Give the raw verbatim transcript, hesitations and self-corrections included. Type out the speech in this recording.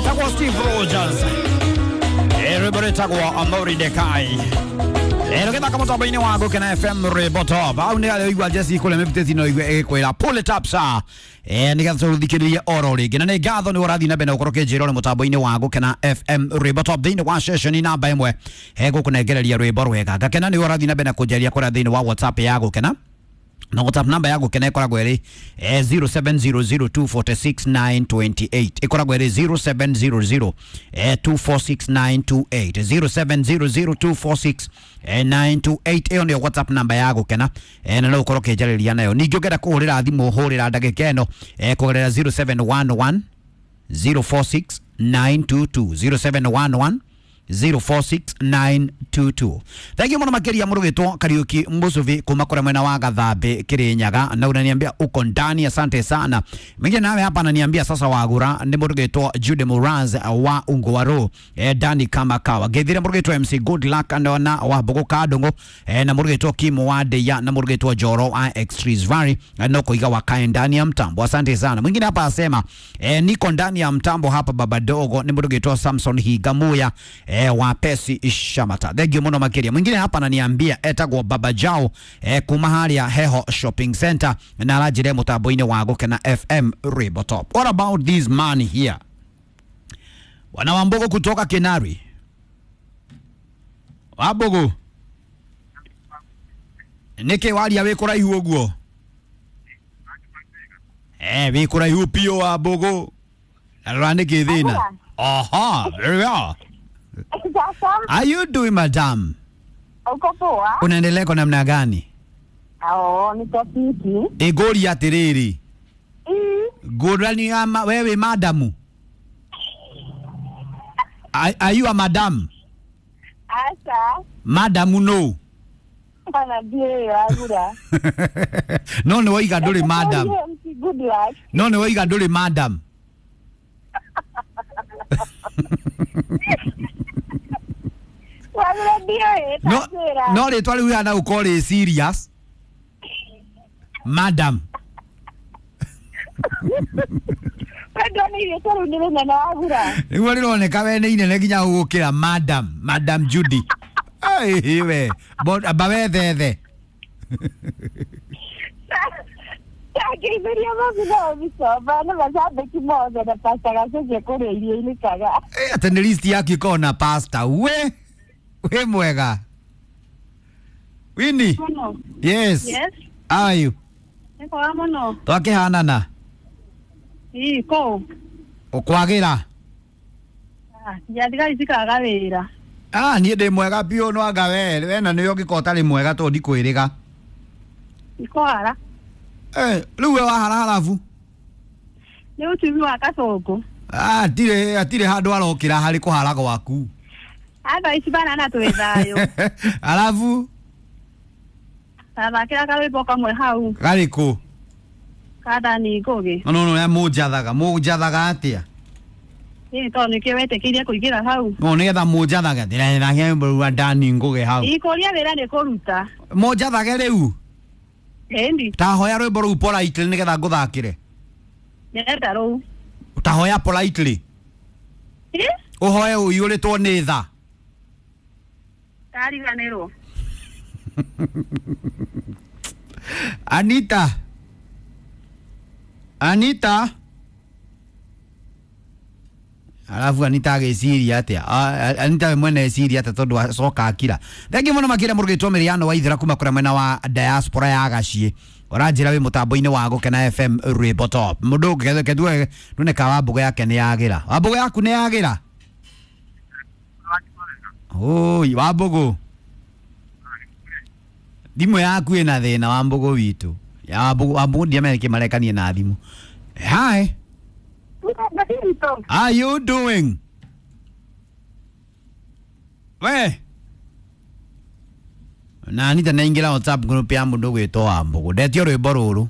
Etagwo Steve Rogers, rwĩmbo rwĩtagwo Amori Dekai. Rũgĩthaka mũtambo-inĩ wa Gũkena F M Rwĩmbo Top. Hau nĩ harĩa ũigua Jesse kũrĩa mĩbutĩti no igue ĩgĩkwĩra pull it up sir. Eh, nĩgetha tũthikĩrĩrie oro rĩngĩ. Na nĩ ngatho nĩ ũrathiĩ na mbere na gũkorwo ũkĩnjĩra ũrĩ mũtambo-inĩ wa Gũkena F M Rwĩmbo Top thĩinĩ wa session namba ĩmwe hegũkũnengereria rwĩmbo rwega. Ngakena nĩ ũrathiĩ na mbere na kũnjaria kũrĩa thĩinĩ wa WhatsApp ya Gũkena. Na WhatsApp namba ya Gũkena ĩkoragwo ĩrĩ eh, zero seven zero zero two four six nine two eight. Ĩkoragwo ĩrĩ zero seven zero zero eh, two four six nine two eight, zero seven zero zero two four six nine two eight. Ĩyo nĩyo WhatsApp namba ya Gũkena eh, na no ũkorwo ũkĩnjarĩria nayo. Ningĩ ũngĩenda kũhũrĩra thimũ hũrĩra ndagĩka ĩno eh, kũgerera zero seven one one zero four six nine two two, zero seven one one zero four six nine two two. Thank you muno makiria murugitwo Kariuki Musuvi kuma kure mwena wa Gathambi Kirinyaga, na unaniambia uko ndani, asante sana. Mwingine nawe hapa ananiambia sasa wagura ni murugitwo Jude Muraz wa Ungwaro eh, Dani kama kawa gethire murugitwo M C Good Luck andona wa Bogo Kadongo eh, na murugitwo Kim Wadeya na murugitwo Joro wa Extrees Valley no kuiga wakae ndani ya mtambo, asante sana. Mwingine hapa asema eh, niko ndani ya mtambo hapa baba dogo ni murugitwo Samson Higamuya eh, wa Pesi Ishamata. Thank you muno makiria. Mwingine hapa ananiambia etagwo Baba Jao eh, kuma haria Heho Shopping Center na arajire mutambo-inĩ wa Gũkena F M Rwĩmbo Top. What about this man here? Wana Wambogo kutoka Kinari. Wambogo. Niki waria wĩ kũraihu ũguo? Eh, wĩ kũraihu piũ Wambogo. Rora nĩkĩ thĩna? Aha, very well. Are you doing, madam? Uko poa. Unaendelea kwa namna gani? Oh, niko fiti. Igori atiriri. Mm. Ngurani ama wewe madamu? Are, are you a madam? Asa. Madamu no. Bana ndiye yagura. No no oiga nduri madam. Good luck. No no oiga nduri madam. No, no rĩtwa rĩu rĩhana gũkorwo rĩ serious. Madam. Nĩguo rĩroneka we nĩ inene nginya gũgũkĩra madam, Madam Judy. Ai we, amba wethethe. Eh, atĩ nĩ list yaku ĩkoragwo na pasta. We we mwega. Winnie. Yes. Yes. How are you? Niko muno. Twakihanana. Ii ko. Ukwagira. Ah, njathigari cikaga wira. Ah, niĩ ndĩ mwega biũ no anga we, we na nĩwe ũngĩkorwo ũtarĩ mwega tondũ ndikwĩrĩga. Ikohara. Eh, rĩu we wahara harabu. Nĩ ũtumi wa Kasongo. Ah, atirĩ atirĩ handũ arokĩra harĩ kũhara gwaku. Atha ici bana na twĩ thayũ. Arabu Tathakĩra karwĩmbo kamwe hau. Karĩkũ? Kathani Ngũgĩ. No no no mũnjathaga, mũnjathaga atĩa? Ĩĩ tondũ nĩkĩo wetĩkĩirie kũingĩra hau. No nĩgetha mũnjathage ndĩrathakĩra rwĩmbo rwa Dani Ngũgĩ hau. Ikũria wĩra nĩ kũruta. Mũnjathage rĩu? Ĩndi. Ta hoya rwĩmbo rũu politely nĩgetha ngũthakĩre. Ndĩrenda rũu. Ta hoya politely. Ĩ? Ũhoe ũiyũrĩtwo nĩ tha. Ndariganĩrwo. Anita. Anita. Alafu Anita agĩciria atĩa? Anita we mwene eciria atĩa tondũ acoka akira. Thengiũ mũno makĩria mũrugĩtwo Mĩrĩano wa Ithira kuma kũrĩa mwena wa diaspora ya Gaciĩ. Ũranjĩra wĩ mũtambo-inĩ wa Gũkena F M Rwĩmbo Top. Mũndũ ũngĩ ketue ndune ka Wambũgũ yake nĩ yagĩra. Wambũgũ yaku nĩ yagĩra? Oi, Wambũgũ. Thimũ yaku ĩna thĩna Wambũgũ witũ. Ya Wambũgũ, Wambũgũ ndiamenye kĩ marekanie na thimũ. Hi. How you doing? We. Na Anita naingĩra WhatsApp group ya mũndũ gwĩtwo Wambũgũ. Ndetio rwĩmbo rũrũ.